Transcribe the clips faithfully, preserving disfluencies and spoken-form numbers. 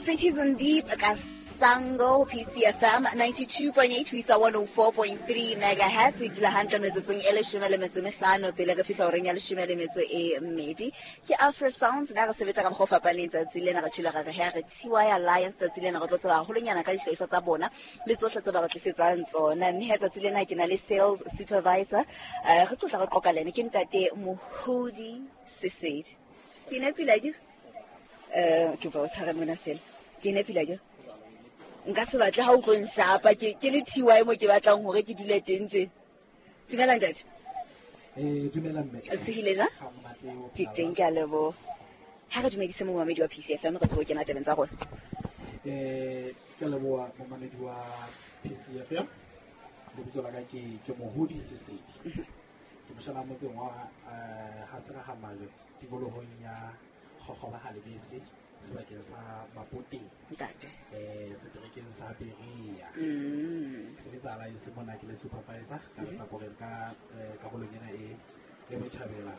Cities Deep ka Sango P C F M ninety-two point eight ho isa one oh four point three megahertz. E dula hantle metsotsong e leshome le metso e mehlano pele re fihla horeng ya leshome le metso e mmedi. Ke Afro Sounds na re sebetsa ka mokgwa o fapaneng tsatsi lena, re tshela re re T Y Alliance tsatsi lena, re tlo tseba haholonyana ka dihlahiswa tsa bona le tsohle tse ba re tlisetsang tsona. Mme he tsatsi lena ke na le sales supervisor, eh re tlo tla re qoqa le ene, ke ntate Mohodi Sesedi. Ke nepile ke eh ke ba o tshware mona fela. Ke nepile ke nka se batle ha o tlo nshapa ke ke le T Y mo ke batlang hore ke dule teng tje. Dumela ntate. Eh dumela mme. O tsehile ja? Ke teng, ke a leboha. Ha re dumedise momamedi wa P C F M, re tsebe ho kena tabeng tsa rona. Eh ke a leboha momamedi wa P C F M. Lebitso la ka ke ke Mohodi Sesedi. Ke moshana motseng wa eh ha se ra Majwe, tikolohong ya Kgokgoba ha Lebese, sebakeng sa Mapoteng. Ntate. Eh seterekeng sa Berea. Mm. Ke sebetsa Alliance mona, ke le supervisor ka lehlakoreng ka karolong ena e e botjhabela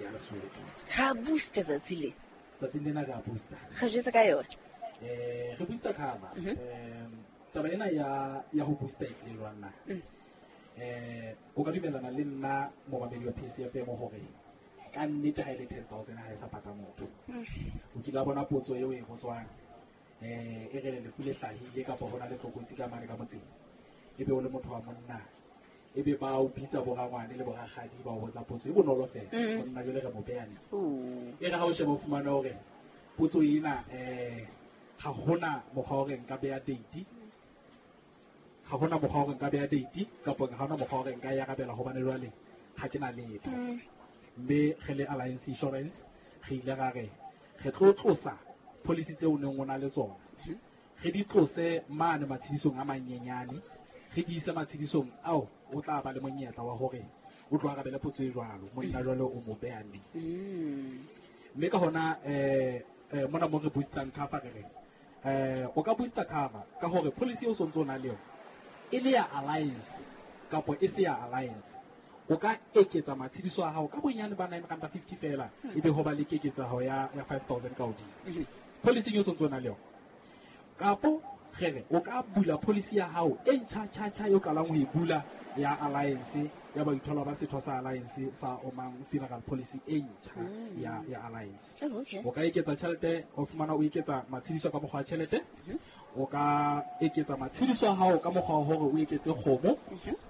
ya Lesotho. Ra booster tsatsi le. Tsatsi lena re a booster. Re jwetse ka yona. Eh re booster cover. Eh taba ena ya ya ho booster e tlile jwang na? Eh o ka dumellana le nna momamedi wa P C F M hore ka nnete ha e le ten thousand ha e sa pata motho. O kile wa bona potso eo e botswang, eh e re lefu le hlahile kapa hona le tlokotsi ka mane ka motseng, ebe o le motho wa monna, ebe ba o bitsa borangwane le borakgadi ba o botsa potso e bonolo fela, monna jwale re mo beha neng. E re ha o sheba o fumane hore potso ena eh ha hona mokgwa wa hore nka beha date, ha hona mokgwa wa hore nka beha date kapa ha hona mokgwa wa hore nka e arabela hobane jwale ha ke na letho. Mme re le Alliance Insurance re ile ra re re tlo tlosa policy tseo o neng o na le tsona, re di tlose mane matshedisong a manyenyane, re di ise matshedisong ao o tla ba le monyetla wa hore o tlo arabele potso e jwalo, monna jwale o mo beha neng. Mme ka hona eh mona mo re boostang cover re re eh o ka booster cover ka hore policy eo o sontso o na le yona e le ya Alliance kapa e se ya Alliance, o ka eketsa matshediso a hao ka bonyane ba nine rand fifty fela, ebe ho ba le keketseho ya ya five thousand ka hodimo policy eo sontso o na le yona. Kapo re re o ka bula policy ya hao e ntjha tjha tjha eo qalang ho e bula ya Alliance, ya baithola ba setho sa Alliance sa Omang funeral policy e ntjha ya ya Alliance. O ka eketsa tjhelete, o fumana o eketsa matshediso ka mokgwa wa tjhelete, o ka eketsa matshediso a hao ka mokgwa wa hore o eketse kgomo,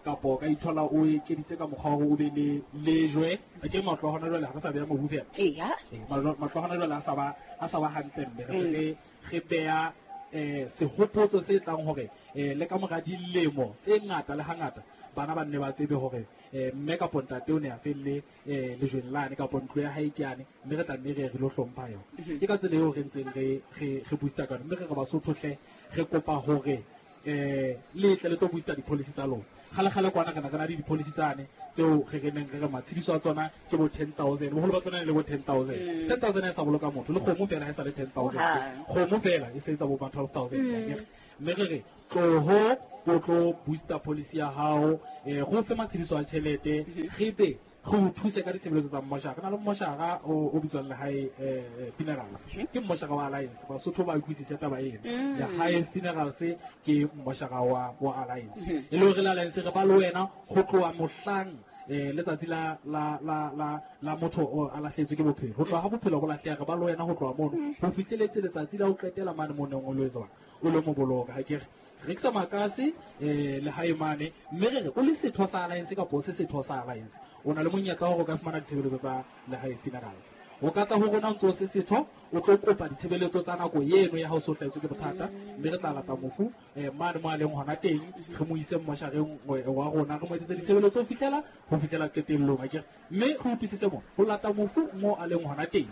kapa o ka ithola o ekeditse ka mokgwa wa hore o be le lejwe. Ke matlo a hona jwale ha re sa beha mobu fela. Eya. Matlo a hona jwale a sa ba a sa ba hantle mme re re beha eh sehopotso se tlang hore eh le ka mora dilemo tse ngata le hangata bana ba nne ba tsebe hore eh mme kapa ntate o ne a felle eh lejweng lane kapa ntlo ya hae ke yane, mme re tla nne re re lo hlompha yona. Ke ka tsela eo re ntseng re re re booster ka yona. Mme re re Basotho hle re kopa hore eh le tle le tlo booster di-policy tsa lona. Kgale kgale kwana re na re na le di-policy tsane tseo re re neng re re matshediso a tsona ke bo ten thousand, boholo ba tsona e le bo ten thousand. ten thousand ha e sa boloka motho, le kgomo fela ha e sa le ten thousand, kgomo fela e se etsa bo ba twelve thousand. Mme re re tloho o tlo booster policy ya hao, eh go fe matshediso a tjhelete, re be re o thuse ka ditshebeletso tsa mmoshara. Re na le mmoshara o o bitswang Lehae Funerals, ke mmoshara wa Alliance. Basotho ba utlwisise taba ena. Lehae Funerals ke mmoshara wa wa Alliance, e le hore le Alliance re ba le wena ho tloha mohlang eh letsatsi la la la la la motho o a lahletswe ke bophelo, ho tloha ha bophelo bo lahleha re ba le wena ho tloha mono ho fihleletse letsatsi la ho qetela mane mo neng o lo etsa o lo mo boloka. Ha ke re rekisa makase eh le hae mane, mme re re o le setho sa Alliance kapa o se setho sa Alliance, o na le monyetla wa hore o ka fumana ditshebeletso tsa Lehae Funerals. O ka tla ho rona o ntso se setho, o tlo kopa ditshebeletso tsa nako eno ya ha o so hlahetswe ke bothata, mme re tla lata mofu eh mane mo a leng hona teng, re mo ise mmoshareng wa rona, re mo etsetse ditshebeletso ho fihlela ho fihlela qetellong. Akere mme re utlwisise mo ho lata mofu mo a leng hona teng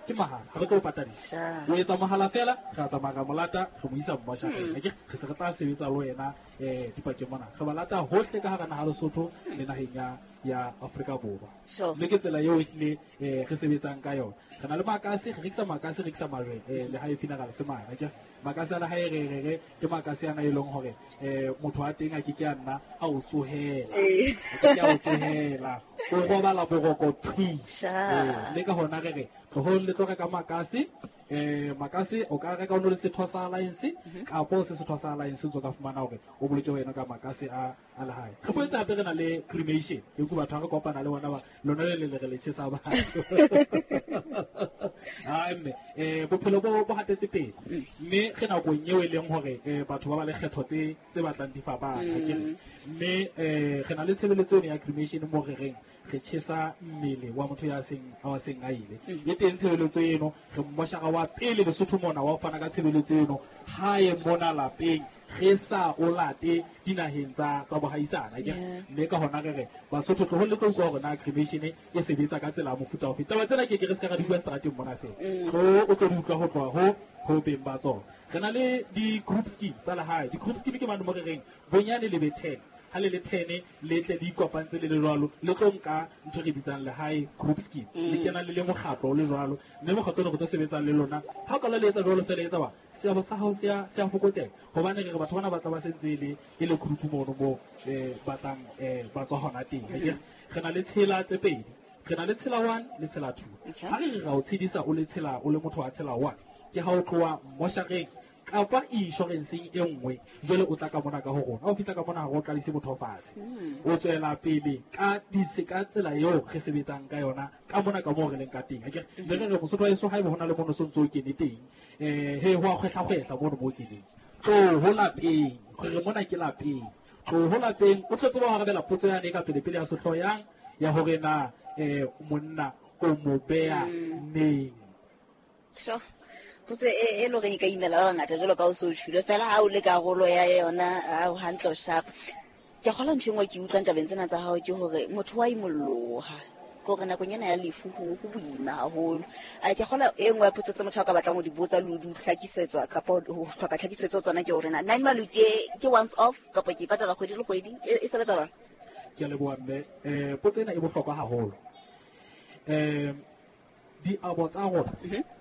ke mahala, ha re tlo patadisa. O etsa mohala fela, re a tsamaya ra mo lata, re mo isa mmoshareng. Akere re se re tla sebetsa le wena eh dipakeng mona, re ba lata hohle ka hara naha Lesotho le naheng ya ya Afrika Borwa. Mme ke tsela eo ehlile eh re sebetsang ka yona. Re na le makase, re rekisa makase, re rekisa majwe eh Lehae Funeral se mane. Akere makase a lehae re re re ke makase ana e leng hore eh motho wa teng a ke ke a nna a o tsohela, a ke ke a o tsohela, o robala boroko thwi. Mme ka hona re re tlohong le tlo reka makase Eh makase o ka reka o no le setho sa Alliance kapa o se setho sa Alliance o ka fumana hore o boloke wena ka makase a a lehae. Re boetse hape re na le cremation. Ke ku batho ha re kopana le bona ba lona le le re le tjhesa batho. Ah mme eh bophelo bo bo hatetse pele. Mme re nakong eo e leng hore batho ba ba le kgetho tse tse batlang di fapana ke. Mme eh re na le tshebeletso ya cremation mo re reng re tjhesa mmele wa motho ya seng a seng a ile. E teng tshebeletso eno re mmoshara wa pele Lesotho mona wa fana ka tshebeletso eno hae mona lapeng re sa o late dinaheng tsa tsa bohaisana ke. Mme ka hona re re Basotho tlo ho le tlo utlwa hore na cremation e sebetsa ka tsela ya mofuta ofe. Taba tsena ke ke re se ka di bua strateng mona fela. Tlo o tlo di utlwa ho tloha ho ho beng ba tsona. Re na le di-group scheme tsa lehae. Di-group scheme ke mane mo re reng bonyane le be ten. Ha le le ten le tle le ikopantse le le jwalo le tlo nka ntho re bitsang lehae group scheme. Le kena le le mokgatlo le jwalo mme mokgatlo re tlo sebetsang le lona. Ha o ka le etsa jwalo fela etsa ba seabo sa hao se a se a fokotseha hobane re re batho bana ba tla ba sentse le e le group mono mo eh batlang eh ba tswa hona teng. Re na le tshela tse pedi. Re na le tshela one le tshela two. Ha re re ra o tshedisa o le tshela o le motho wa tshela one ke ha o tloha moshareng kapa insurance e nngwe jwale o tla ka mona ka ho rona. Ha o fihla ka mona ha o qalise motho fatshe. O tswela pele ka ditse ka tsela eo re sebetsang ka yona ka mona ka moo re leng ka teng. Akere le re re Mosotho wa heso haeba hona le mono so ntso o kene teng eh he ho a kgwehla kgwehla mono mo keneng. Tlo ho lapeng re mona ke lapeng. Tlo ho lapeng o tlo tseba ho arabela potso yane ka pele pele ya sehlooho yang ya hore na eh monna o mo beha neng. So potso e e lo re ka imela ba bangata jwalo ka o so tjhule fela ha o le karolo ya yona ha o hantle o sharp. Ke kgola ntho engwe ke utlwang tabeng tsena tsa hao ke hore motho wa imolloha ke hore nakong ena ya lefu ho ho boima haholo. A ke kgola e nngwe ya potso tse motho a ka batlang ho di botsa le ho di hlakisetswa kapa ho hloka tlhakisetso tsona ke hore na nine maluti ke once off kapa ke patala kgwedi le kgwedi e sebetsa jwang? Ke a leboha mme. Eh potso ena e bohlokwa haholo. Eh diabo tsa rona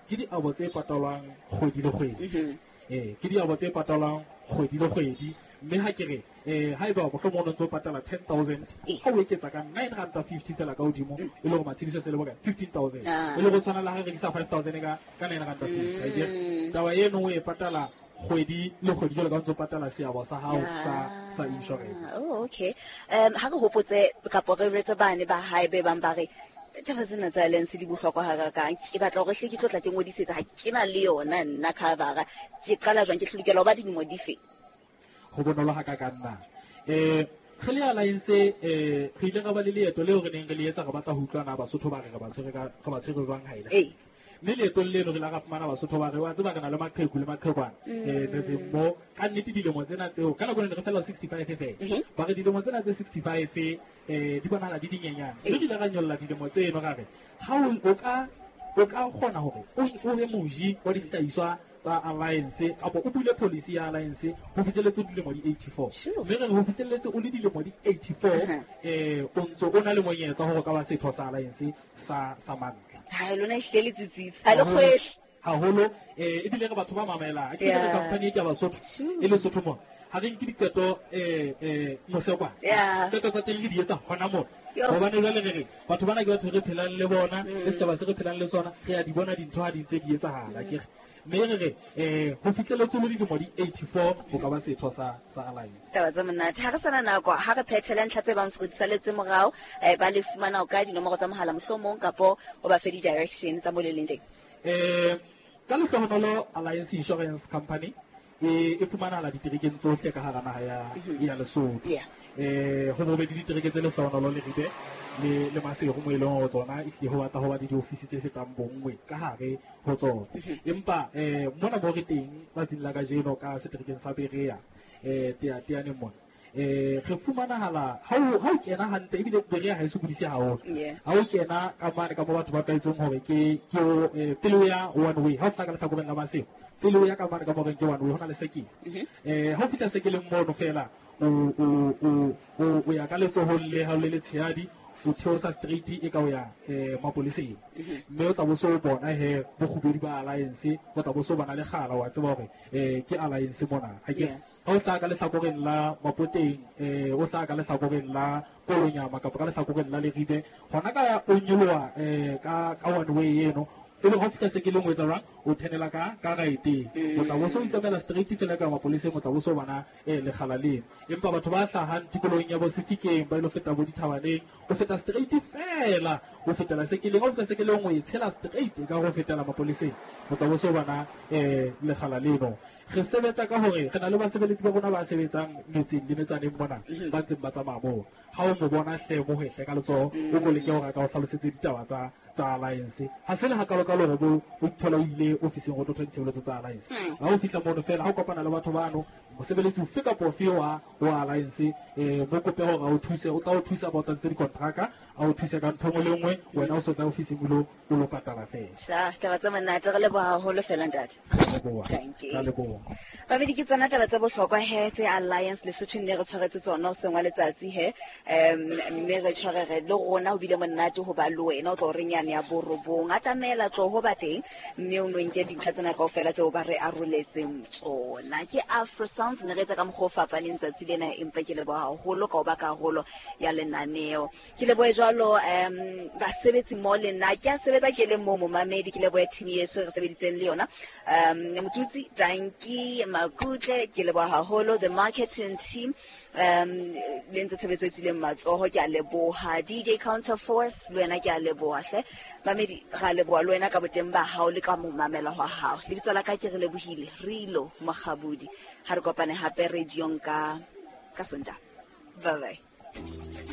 ke diabo tse patalwang kgwedi le kgwedi. Eh ke diabo tse patalwang kgwedi le kgwedi mme ha ke re eh haeba mohlomong o ntso patala ten thousand ha o eketsa ka nine rand fifty fela ka hodimo e le hore matshediso se le bokae fifteen thousand e le go tshwana le ha re rekisa five thousand ka ka nine rand fifty. Taba eno o e patala kgwedi le kgwedi jwalo ka ntso patala seabo sa hao sa sa insurance. Oh okay. Um ha re hopotse kapa re retse bane ba hae be bang ba re taba tsena tsa Alliance di bohlokwa hakakang. Ke batla hore hle ke tlo tla ke ngodisetsa ha ke na le yona nna cover-a. Ke qala jwang ke hlokela ho ba dilemo dife? Ho bonolo hakakang na. Eh re le Alliance eh re ile ra ba le leeto leo re neng re le etsa re batla ho utlwana Basotho ba re re ba tshwere ka re ba tshwere jwang ha ile. Mme leetong leno re la ra fumana Basotho ba re wa tseba re na le maqheku le maqhekwana eh metseng mo ka nnete dilemo tsena tseo ka nako ne re fela sixty-five fela. Ba re dilemo tsena tse sixty-five eh di bonahala di dinyenyane. Mme re ile ra nyolla dilemo tseno ra re ha o ka o ka kgona hore o be moji wa dihlahiswa tsa Alliance kapa o bule policy ya Alliance ho fihlelletse dilemo di eighty-four. Mme re ho fihlelletse o le dilemo di eighty-four eh o ntso o na le monyetla hore o ka ba setho sa Alliance sa sa mantlha. Ha lona ehlile le tsutsitse ha le kgwehle haholo eh ebile re batho ba mamelang. Ke re company e ke Basotho e Lesotho mo ha re nke diqeto eh eh mosekwa qeto tsa teng re di etsa hona mona. Hobane jwale re re batho bana ke batho re phelang le bona le setjhaba se re phelang le sona re a di bona dintho ha di ntse di etsahala ke re mme re re eh ho fihlelletse le dilemo di eighty-four ho ka ba setho sa sa Alliance. Taba tse monate. Ha re sana nako ha re phethele ntlha tse bang se re di saletse morao eh ba le fumana o ka dinomoro tsa mohala mohlomong kapo o ba fe di-direction tsa mo le leng teng. Eh ka lehlohonolo Alliance Insurance Company e e fumanahala diterekeng tsohle ka hara naha ya ya Lesotho. Eh ho bobedi ditereke tse lehlohonolo le Ribe le le Maseru mo e leng hore tsona ehlile ho batla ho ba le diofisi tse fetang bonngwe ka hare ho tsona. Empa eh mona mo re teng tsatsing la kajeno ka seterekeng sa Berea eh Teateaneng mona eh re fumanahala ha o ha o kena hantle ebile Berea ha e sokodise haholo. Ha o kena ka mane ka mo batho ba tlwaetseng hore ke ke pele o ya one way ha o fihla ka lehlakoreng la Maseru pele o ya ka mane ka mo reng ke one way ho na le sekele. Eh ha o fihla sekeleng mono fela o o o o ya ka letsohong le ha o le letshehadi o theosa straight e ka o ya eh mapoleseng. Mme o tla bo so bona he bokgubedi ba Alliance o tla bo so bona le kgala wa tseba hore eh ke Alliance mona. Ha ke ha o tla ka lehlakoreng la Mapoteng eh o tla ka lehlakoreng la Kolonyama kapa ka lehlakoreng la Leribe hona ka o nyoloha eh ka ka one way eno Ebe ha o fihla sekeleng o etsa jwang? O thenela ka ka right-eng. O tla bo so itsamaela straight fela ka mapoleseng, o tla bo so bona eh lekgala leno. Empa batho ba hlahang tikolohong ya bo Sefikeng ba ilo feta bo dithabaneng, o feta straight fela, o fetela sekeleng, ha o fihla sekeleng o e tshela straight ka ho fetela mapoleseng, o tla bo so bona eh lekgala leno. Re sebetsa ka hore re na le basebeletsi ba rona ba sebetsang metseng le metsaneng mona, ba ntseng ba tsamaya moo. Ha o mo bona hle mo hwehle ka letsoho, o ko leke hore a ka o hlalosetse ditaba tsa tsa Alliance. Ha se le hakalokalo hore bo o ithola o ile ofising ho tlo thola ditshebeletso tsa Alliance. Ha o fihla mono fela, ha o kopana le batho bano, mosebeletsi ofe kapa ofe wa wa Alliance, eh mo kope hore a o thuse, o tla o thusa ba o tladitse dikontraka, a o thuse ka ntho e nngwe le nngwe, wena o so tla ofising o lo o lo patala fela. Tjha, taba tse monate, re leboha haholo fela ntate. Leboha. Thank you. Ka leboha. Babedi ke tsona taba tse bohlokwa he tse Alliance Lesotho ne re tshwaretse tsona hoseng wa letsatsi he. Um mme re tshwarege le rona ho bile monate ho ba le wena o tlo re nyane ya borobong. Atamela tlo ho ba teng mme o no nke dintlha tsena kaofela tseo ba re aroletseng tsona. Ke Afro Sounds ne re etsa ka mokgwa o fapaneng tsatsi lena, empa ke leboha haholo ka ho ba karolo ya lenaneo. Ke lebohe jwalo um basebetsi mo le nna ke a sebetsa ke le mo momamedi, ke lebohe team yeso re sebeditseng le yona. Um Motutsi, Danki, Makutle, ke leboha haholo the marketing team, um le ntse tshebetso e tswileng matsoho, ke a leboha. D J Counterforce le wena ke a leboha hle. Mamedi, ra leboha le wena ka boteng ba hao le ka mo mamela hwa hao. Lebitso la ka ke re lebohile Rilo Mokgabudi. Ha re kopane hape radiong ka ka Sontaha. Bye bye.